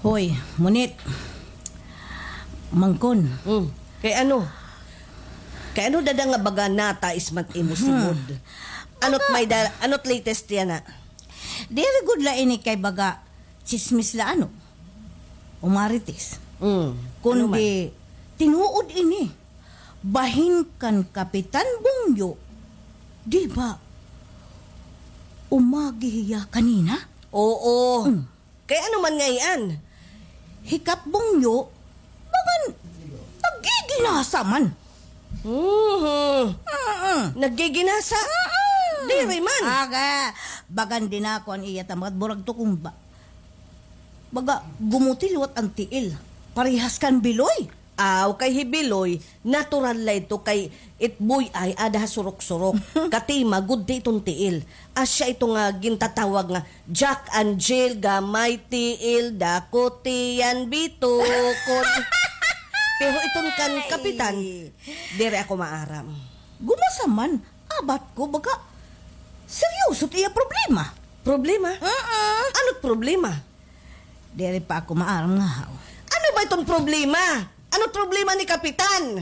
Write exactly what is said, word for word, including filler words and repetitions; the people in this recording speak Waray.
Hoy, ngunit, Mangkon. Hmm. Kay ano? Kay ano dada nga baga nata ismat imo simod? Ano't may da-, ano't latest yana? Diri gud la ini kay baga tsismis la ano? O marites. Hmm. Kundi tinuod ini. Bahin kan Kapitan Bungyo, di ba, umagi hiya kanina? Oo. Hmm. Kay ano man ngay-an? Hi Kap Bungyo, bagan naggiginasa man. Mhm. Mm-mm. Naggiginasa? Mm-mm. Diri man. Aga, bagan dinako an iya tamad, murag tukumba. Baga gumuti liwat an tiil. Parehas kan Biloy. Aw, kay hi Biloy, natural la ito kay it buy-ay ada ha surok-surok. Katima, gudti iton tiil. Asya ito nga gintatawag nga Jack and Jill, gamay tiil, dako tiyan, bitukon. Pero iton kan Kapitan, diri ako maaram. Gumasa man, abat ko, baga, seryoso it iya problema. Problema? Mm-mm. Ano't problema? Diri pa ako maaram nga haw. Ano ba iton problema? Ano't problema ni Kapitan?